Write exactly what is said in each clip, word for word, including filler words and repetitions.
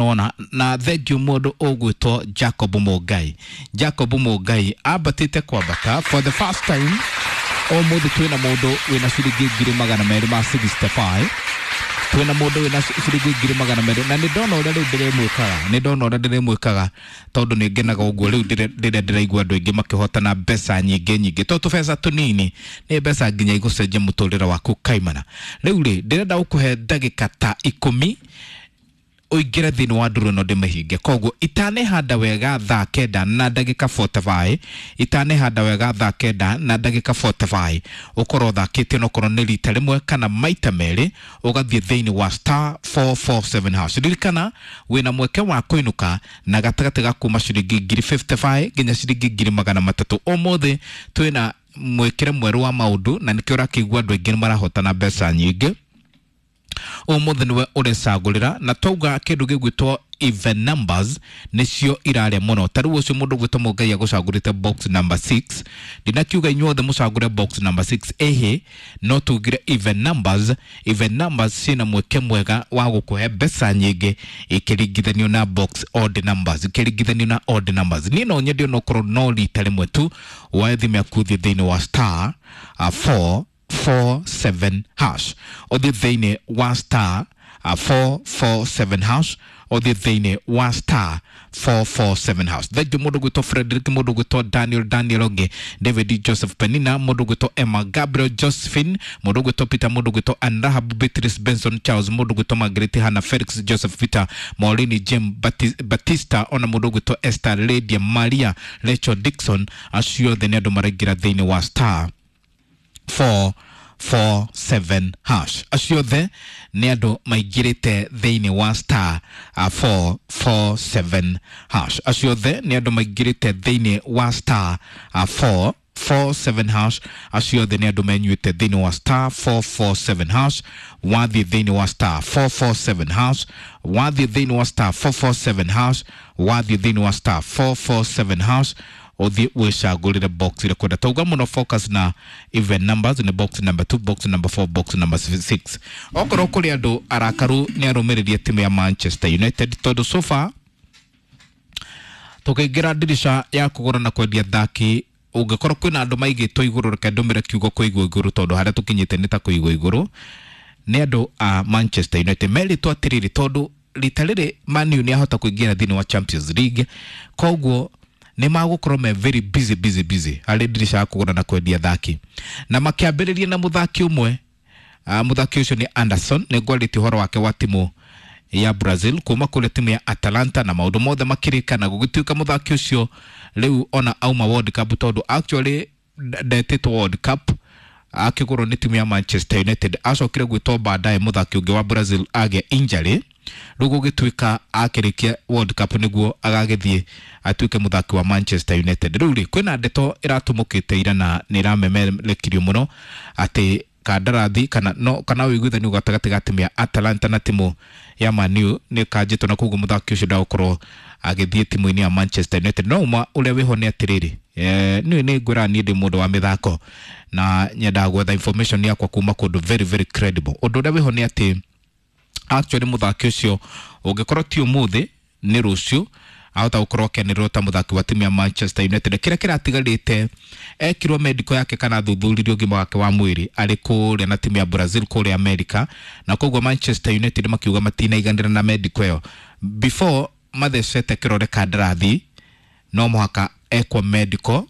Ona na thengiũ mũndũ ũgwĩtwo Jacob Mũngai. Jacob Mũngai ambatĩte kwambata for the first time. Ũmũthĩ twĩna mũndũ wĩna ciringi ngiri magana merĩ ma sixty-five, twĩna mũndũ wĩna ciringi ngiri magana merĩ, na nĩ ndona ũrĩa rĩu ndĩrĩmwĩkaga, nĩ ndona ũrĩa ndĩrĩmwĩkaga, tondũ nĩ ngenaga ũguo rĩu rĩrĩa ndĩraigua andũ aingĩ makĩhotana mbeca nyingĩ nyingĩ, to tũbeca tũnini, nĩ mbeca nginya igũcenjia mũtũrĩre waku kaimana. Rĩu rĩ, ndĩrenda gũkũhe ndagĩka ta ikũmi ũingĩre thĩinĩ wa ndũrũ ĩno ndĩmĩhinge. Koguo itanehanda wega thaa kenda na ndagĩka mĩrongo ĩna na ithano, itanehanda wega thaa kenda na ndagĩka mĩrongo ĩna na ithano, ũkorwo ũthakĩte onokorwo nĩ rita rĩmwe kana maita merĩ, ũgathiĩ thĩinĩ wa star four four seven hash. Ririkana wĩna mweke wa kũinũka na gatagatĩ ga kuma ciringi ngiri mĩrongo ĩtano na ithano nginya ciringi ngiri magana matatũ. Ũmũthĩ twĩna mwĩkĩre mwerũ wa maũndũ, na nĩkĩo ũrakĩigua andũ aingĩ nĩ marahotana mbeca nyingĩ. Ũmũthĩ nĩwe ũrecagũrĩra, na twauga kĩndũ gĩgwĩtwo even numbers nĩcio irarĩa mũno. Ta rĩu ũcio mũndũ ũgwĩtwo Mũngai agũcagũrĩte box number six. Ndinakiuga inyuothe mũcagũre box number six, ĩhĩ, no tugire even numbers, even numbers ciĩna mweke mwega wa gũkũhe mbeca nyingĩ ikĩringithanio na box odd numbers, ikĩringithanio na odd numbers. Niĩ no nyende onokorwo no rita rĩmwe tu woe thimũ yaku, ũthiĩ thĩinĩ wa star uh, four four seven hash, ũthiĩ thĩinĩ wa star uh, four four seven hash, ũthiĩ thĩinĩ wa star four four seven hash. Thengiũ mũndũ gwĩtwo Frederick, mũndũ gwĩtwo Daniel, Daniel ũngĩ, David, Joseph, Penina, mũndũ gwĩtwo Emma, Gabriel, Josephine, mũndũ gwĩtwo Peter, mũndũ gwĩtwo Anrahab, Beatrice, Benson, Charles, mũndũ gwĩtwo Margaret, Hannah, Felix, Joseph, Peter, Maureen, Jim, Bati- Batista, ona mũndũ gwĩtwo Esther, Lydia, Maria, Rachel, Dixon. Acio othe nĩ andũ maraingĩra thĩinĩ wa star four four seven hash. Acio othe nĩ andũ maingĩrĩte thĩinĩ wa star uh, four four seven hash. Acio othe nĩ andũ maingĩrĩte thĩinĩ wa star uh, four four seven hash. Acio othe nĩ andũ menyuĩte thĩinĩ wa star four four seven hash. Wathiĩ thĩinĩ wa star four four seven hash, wathiĩ thĩinĩ wa star four four seven hash, wathiĩ thĩinĩ wa star four four seven hash, ũthiĩ wĩcagũrĩre box ĩrĩa kwenda. Tauga mũno focus na even numbers, nĩ box number two, box number four, box number six. Okorwo kũrĩ andũ arakaru nĩ arũmĩrĩri a timu ya Manchester United, tondũ so far tũkĩingĩra ndirisha ya kũgũra na kwendia thaki, ũngĩkorwo kwĩna andũ maigĩtwo igũrũ, reke ndũmĩre kiugo kũigwo igũrũ, tondũ harĩa tũkinyĩte nĩ ta kũigwo igũrũ nĩ andũ a Manchester United. Merĩtwo atĩrĩrĩ, tondũ rita rĩrĩ Man U nĩ ahota kũingĩra thĩinĩ wa Champions League, koguo nĩ magũkorwo me very busy, busy, busy harĩ ndirisha ya kũgũra na kwendia thaki, na makĩambĩrĩria na mũthaki ũmwe. uh, mũthaki ũcio nĩ Anderson. Nĩ ngwarĩtie ũhoro wake wa timu ya Brazil kuma kũrĩa timu ya Atalanta, na maũndũ mothe makĩrĩka na gũgĩtuĩka mũthaki ũcio rĩu ona auma World Cup, tondũ actually ndetĩtwo World Cup, akĩgũrwo nĩ timu ya Manchester United, acokire gwĩtwo baadaye mũthaki ũngĩ wa Brazil agĩa injury. Rĩu gũgĩtuĩka akĩrĩkia World Cup nĩguo agagĩthiĩ atuĩke mũthaki wa Manchester United. Rĩu rĩ, kwĩna ndeto ĩratumũkĩte ira na nĩ ĩramemerekirio mũno atĩ kandarathi kana no kana ũiguithanio gatagatĩ ga timu ya Atalanta na timu ya Man U nĩ kanjĩtwo, na koguo mũthaki ũcio ndagũkorwo agĩthiĩ timu-inĩ ya Manchester United. No ũma ũrĩa wĩho nĩ atĩrĩrĩ, eh, niĩ nĩ ngwĩra niĩ ndĩ mũndũ wa mĩthako na nyendaga gwetha information yakwa kuma kũndũ very, very credible. Ũndũ ũrĩa wĩho nĩ atĩ actually mũthaki ũcio ũngĩkorwo ti ũmũthĩ nĩ rũciũ ahota gũkorwo akĩanĩrĩrwo ta mũthaki wa timu ya Manchester United. Kĩrĩa kĩratigarĩte, ekirwo medical yake kana thuthuririo ũgima wake wa mwĩrĩ arĩ kũrĩa na timu ya Brazil kũrĩa America, na koguo Manchester United makiuga matinaiganĩra na medical ĩyo. Before mathecete kĩrore kandarathi, no mũhaka ekwo medical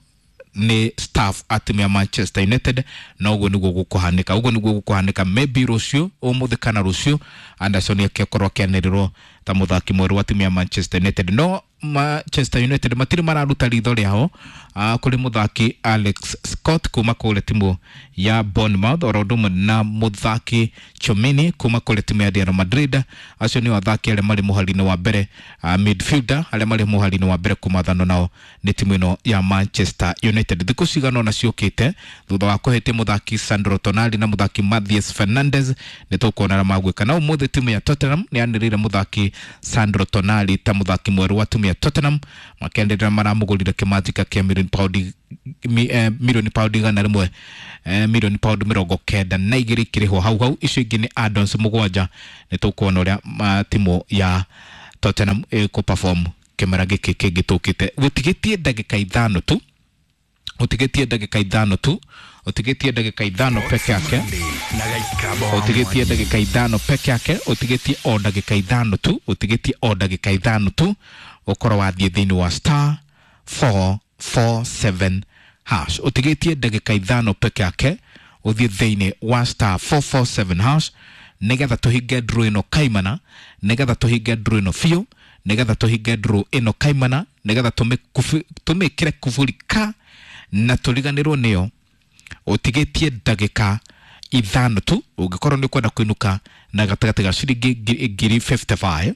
nĩ staff a timu ya Manchester United, na ũguo nĩguo gũkũhanĩka, ũguo nĩguo gũkũhanĩka. Maybe rũciũ, ũmũthĩ kana rũciũ, Anderson akĩkorwo akĩanĩrĩrwo ta mũthaki mwerũ wa timu ya Manchester United. No Manchester United matirĩ mararuta ritho rĩao uh, kũrĩ mũthaki Alex Scott kuma kũrĩa timu ya Bournemouth, oro ũndũ ũmwe na mũthaki Tchouameni kuma kũrĩa timu ya Real Madrid. Acio nĩo athaki arĩa marĩ mũhari-inĩ wa mbere, uh, midfielder arĩa marĩ mũhari-inĩ wa mbere kũmathano nao nĩ timu ĩno ya Manchester United. Thikũ cigana ũna ciũkĩte, thutha wa kũhĩtia mũthaki Sandro Tonali na mũthaki Mathias Fernandes, nĩ tũkuona arĩa magwĩka. Na ũmũthĩ timu ya Tottenham nĩ yanĩrĩire mũthaki Sandro Tonali ta mũthaki mwerũ wa timu ya Tottenham, makĩanĩrĩra maramũgũrire kĩmanjĩka kĩa milioni paundi mi, eh, milioni paundi igana rĩmwe, eh, milioni paundi mĩrongo kenda na igĩrĩ ikĩrĩhwo hau hau. Icio ingĩ nĩ add-ons mũgwanja. Nĩ tũkuona ũrĩa ma, timu ya Tottenham ĩkũ perform kĩmera gĩkĩ kĩngĩ tũkĩte. Gũtigĩtie ndagĩka ithano tu, ũtigĩtie ndagĩka ithano tu, ũtigĩtie ndagĩka ithano peke yake, Na Gaikamba wa ũtigĩtie ndagĩka ithano peke yake, ũtigĩtie o ndagĩka ithano tu, ũtigĩtie o ndagĩka ithano tu ũkorwo wathiĩ thĩinĩ wa star four four seven hash. Ũtigĩtie ndagĩka ithano peke yake ũthiĩ thĩinĩ wa star four four seven hash, nĩgetha tũhinge draw ĩno kaimana, nĩgetha tũhinge draw ĩno biũ, nĩgetha tũhinge draw ĩno kaimana, nĩgetha tũmĩkubu- tũmĩkĩre kuburi ka na tũriganĩrwo nĩyo. Ũtigĩtie ndagĩka ithano tu. Ũngĩkorwo nĩ ũkwenda kũinũka na gatagatĩ ga ciringi ngiri ngiri mĩrongo ĩtano na ithano,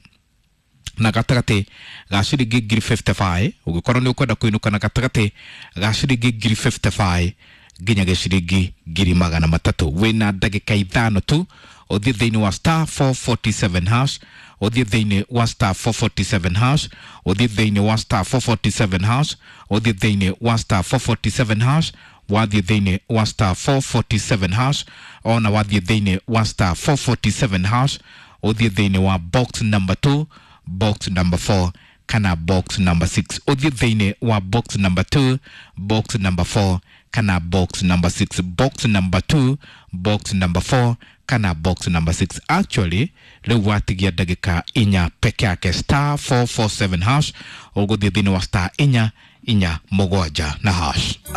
na gatagatĩ ga ciringi ngiri mĩrongo ĩtano na ithano, ũngĩkorwo nĩ ũkwenda kũinũka na gatagatĩ ga ciringi ngiri mĩrongo ĩtano na ithano nginya gĩciringi ngiri magana matatũ, wĩna ndagĩka ithano tu ũthiĩ thĩinĩ wa star four forty-seven hash, ũthiĩ thĩinĩ wa star four forty-seven hash, ũthiĩ thĩinĩ wa star four forty-seven hash, ũthiĩ thĩinĩ wa star four forty-seven hash. Wathiĩ thĩinĩ wa star four forty-seven hash, ona wathiĩ thĩinĩ wa star four forty-seven hash, ũthiĩ thĩinĩ wa box number two, box number four kana box number six. Ũthiĩ thĩinĩ wa box number two, box number four kana box number six, box number two, box number four kana box number six. Actually, rĩu watigia ndagĩka inya peke yake. Star four four seven hash, ũgũthiĩ thĩinĩ wa star inya inya mũgwanja na hash.